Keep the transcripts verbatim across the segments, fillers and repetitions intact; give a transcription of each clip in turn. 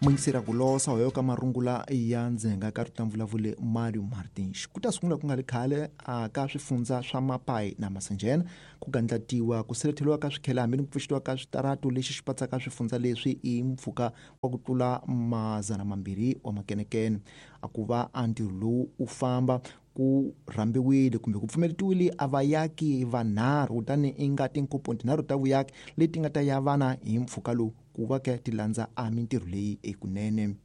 Mungisera ku losa hoyo ka marungula ya ndzenga ka rita mvulavule Mario Martins ku ta sungula ku nga ri khale a ka swifundza swa Mapai na Masanjena ku gandlatiwa ku sirheleriwa ka swikhele hambi ni ku pfuxetiwa ka switaratu lexi xi patsaka swifundza leswi i mpfhuka wa ku tlula mazana mambirhi wa makenekene. A ku va a ntirho lowu u famba ku rhambiwile kumbe ku pfumeletiwile a vayaki vanharhu kutani i nga tinkomponi tinharhu ta vuyaki leti nga ta yavana hi mpfhuka lowu ku va ke ti landza a mintirho leyi ekunene.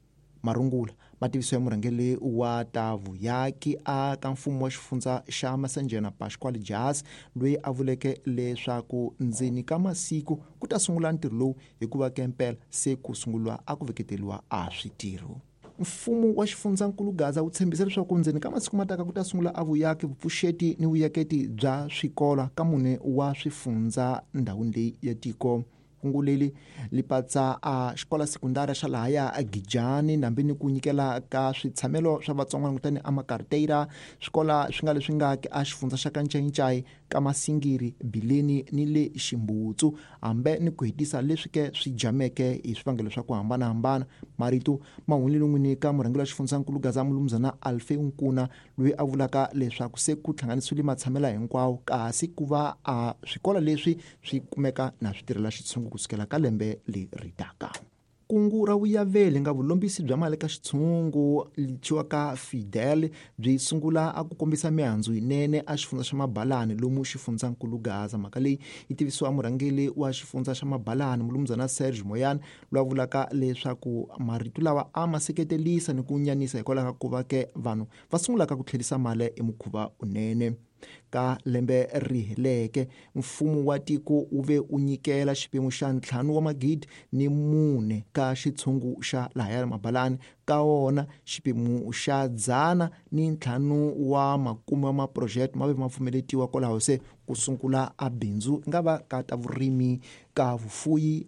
Marungula mativiso ya murhangeri wa ta vuyaki a ka mfumo wa xifundza xa Masanjena Pasquale Jas loyi a vuleke leswaku ndzeni ka masiku ku ta sungula ntirho lowu hikuva ke mpela se ku sunguriwa a ku veketeriwa a switirho. Mfumo wa xifundzankulu Gaza wu tshembisa leswaku ndzeni ka masiku mataka ku ta sungula a vuyaki vupfuxeti ni vuyaketi bya swikolo ka mune wa swifundza ndhawini leyi ya tiko. Kungu leri li patsa a xikola sekundara xa lahaya a Gijani nambi ni ku nyikela ka switshamelo swa vatsongwana kutani a Makarteira swikola swi nga leswi nga a xifundza xa ka Ncayincayi ka Masingiri Bileni ni le Ximbutsu hambe ni ku hetisa leswi ke swi jameke hi swivangelo swa ku hambanahambana. Marito ma hundzile n'wini ka murhangeri wa xifundzankulu Gaza Mulumzana Alfeu Nkuna loyi a vulaka leswaku se ku hlanganisiwile matshamelo hinkwawo kasi ku va a swikolo leswi swi kumeka na swi tirhela xitshungu kusukela ka lembe leri taka. Kungu ra vuyaveli nga vulombisi bya mali ka xitshungu litshiwa Fidel byi sungula a ku kombisa mihandzu yinene a xifundza xa Mabalani lomu xifundzankulu Gaza. Mhaka leyi yi tivisiwa murhangeri wa xifundza xa Mabalani Mulumzana Serge Moyane loyi a vulaka leswaku marito lawa a ma seketelisa ni ku nyanisa hikwalaho ka ku va ke vanhu va sungulaka ku tlherisa mali hi mukhuva unene. Ka lembe ri heleke mfumo wa tiko wu ve u nyikela xiphemu xa ntlhanu wa magidi ni mune ka xitshungu xa lahaya Mabalani ka wona xiphemu xa dzana ni ntlhanu wa makume wa maproject ma ve ma pfumeletiwa kwalaho se ku sungula a bindzu nga va ka ta vurimi ka vufuyi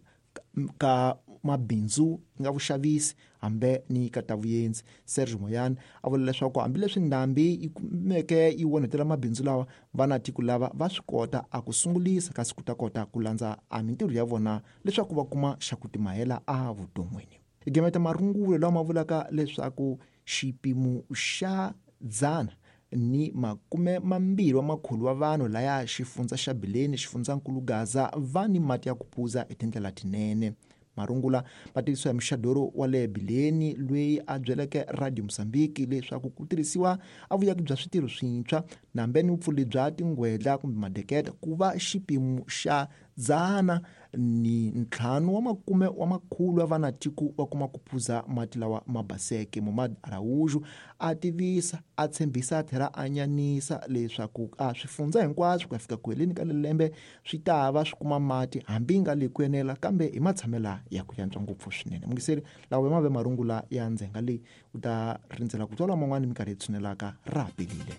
ka mabindzu nga vuxavisi hambe ni ka ta vuyendzi. Serge Moyane a vula leswaku hambileswi ndhambi yi kumeke yi onhetela mabindzu lawa vana tiko lava va swi kota a ku sungulisa kasi ku ta kota ku landza a mintirho ya vona leswaku va kuma xa ku timahela a vuton'wini. Hi gemeta marungulo lawa ma vulaka leswaku xipimo xa dzana ni makume mambirhi wa makhulu wa vanhu laya xifundza xa Bileni xifundzankulu Gaza va ni mati ya ku phuza hi tindlela tinene. Marungula ma tivisiwa hi muxadoro wa le Bileni loyi a byeleke Radio Mozambique leswaku ku tirhisiwa a vuyaki bya switirho swintshwa nambe ni vupfuli bya tingwedla kumbe madeketa ku va xipimo xa dzana ni ntlhanu wa makume wa makhulu wa vana tiko va kuma ku phuza mati lawa ma baseke. Momad Araújo a tivisa a tshembisa a tlhela a nyanisa leswaku a swifundza hinkwaswo ku ya fika ku heleni ka lembe swi ta va swi kuma mati hambi nga le ku enela kambe hi matshamela ya ku yantswa ngopfu swinene. Mungiseri lawa ma ve marungula ya ndzenga leyi u ta rindzela ku twala man'wani minkarhi yi tshunelaka ra pelile.